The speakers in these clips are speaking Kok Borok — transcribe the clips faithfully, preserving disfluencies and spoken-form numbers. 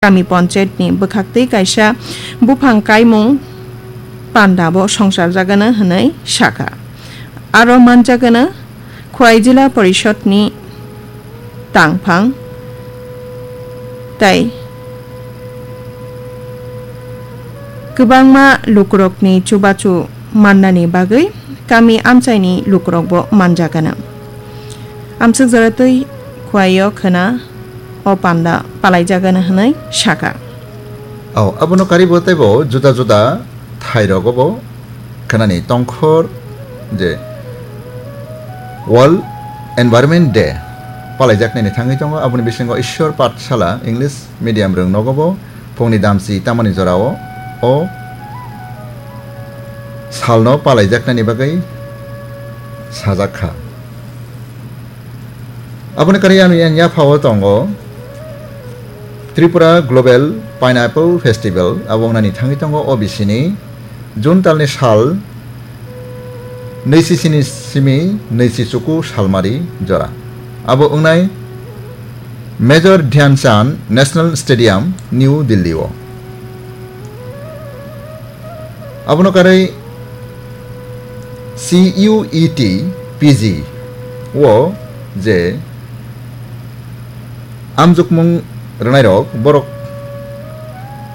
Kami Panchayat ni bwkhaktwi kaisa buphang kaimung panda bo songchar jagano hwnwi sakha. Aro manjagano Khwai Jila Porishod ni tangphang tei kwbangma lukurokni chubachu mannani bagwi kami amchaini lukurokbo manjagano. Amswk joratwi Khwai o khwna o panda palaijagano hwnwi sakha. Oh, abono karibo teibo juda juda thairogo bo khwnani tongkhor je World Environment Day palaijaknani thangwi tongo. Aboni bisingo Ishwar Pathshala English medium rwng nogo bo phungni damchi tamani jorao o salno palaijaknani bagwi sajak kha. Aboni karwi ani yang yaphao tongo Tripura Global Pineapple Festival, abo wngnani thangwi tongo O B C ni June talni sal nwichi sini simi nwichi chuku salmari jora. Abo wngnai Major Dhyan Chand National Stadium, New Delhi o. Abono karwi C U E T P G o je amjokmung rwnairok borok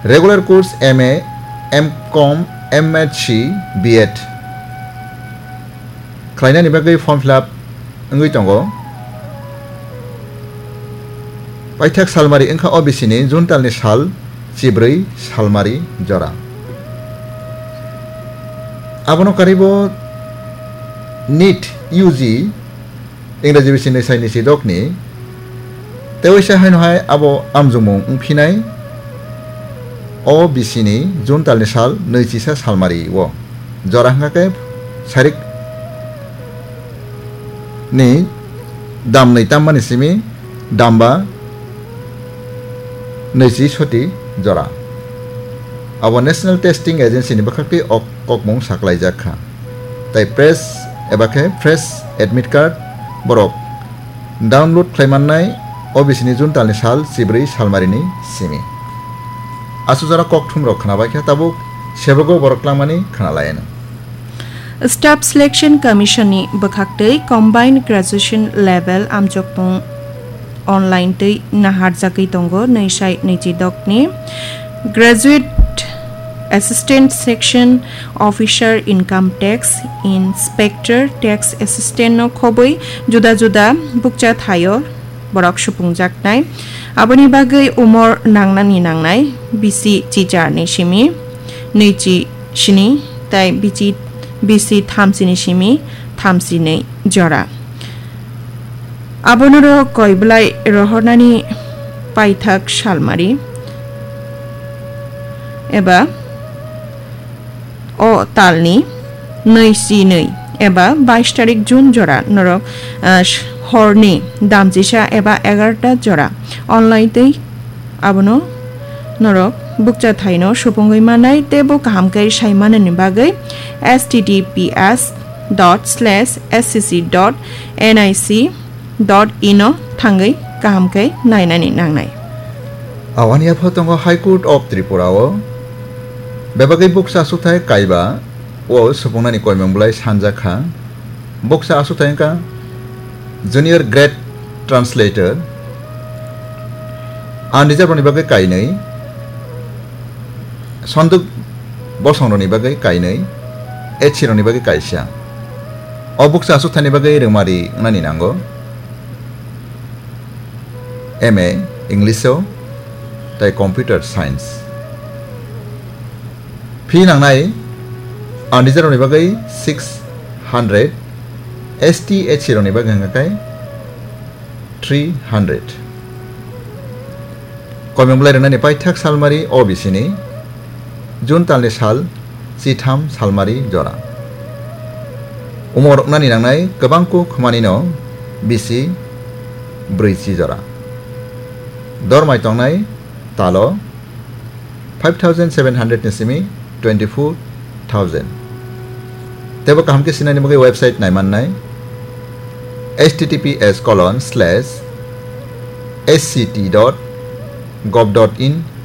regular course M A, M Com, M H C, B Ed khlainani bagwi form fill up wngwi tongo. Paithak salmari wngkha O B C ni June talni sal chibrwi salmari jora. Abono karwibo NEET U G Ingraji bisini saini sidokni tewaisa haino hai abo amjokmung wngphinai O B C ni June talni sal nwichisa salmari o jora hwnkha khe sarik ni damnwi tammani simi damba nwichi soti jora. Abo National Testing Agency ni bwkhaktwi o kokmung saklaijak kha. Tai press eba khe fresh admit card borok download khlai mannai O B C ni June talni sal chibrwi salmarini simi. Aswk jora kokthumrok khnabai kha tabuk sebogo borok lamani khnalayanw. Staff Selection Commission ni bwkhaktwi Combined Graduation Level amjokmung online twi naharjagwi tongo nwi sai nwichi dokni Graduate Assistant Section Officer, Income Tax Inspector, Tax Assistant no khobwi juda juda bukcha thaio borok supungjaknai. Aboni bagwi umor nangnani nangnai bisi chichar ni simi nwichi sini tai bichi bisi thamchi ni simi thamchi ni jora. Abonorok koi belai rohornani paithak salmari eba o talni nwi si nwi eba bais tarik June jora norok, ah, horni damchisa eba egarota jora online twi abono norok bukcha thaino supungwi manai tei bo kaham khe sai manani bagwi H T T P S dot slash S C C dot N I C dot in o thangwi kaham khe nainani nangnai. Awani yapha tongo High Court of Tripura o bebagwi bukcha aswkthai kaiba o supungnani koimung belai sanjakha. Bukcha aswkthai wngkha Junior Grade Translator, unreserved rokni bagwi kainwi, Sonduk bosongrokni bagwi kainwi, H C rokni bagwi kaisa. O bukcha aswkthani bagwi rwngmari wngnani nango M A English o tai Computer Science. Fee nangnai unreserved rokni bagwi six hundred, S T H C rokni bagwi hwnka khe three hundred. Koimung belai rwnani paithak salmari O B C ni June talni sal chitham salmari jora. Umor rwnani nangnai kwbang kuk hwnmanino bisi brwichi jora. Dormai tongnai talo five thousand seven hundred ni simi twenty four thousand. Teibo kaham khe sinani bagwi website naimannai H T T P S colon slash S C T dot gov dot in,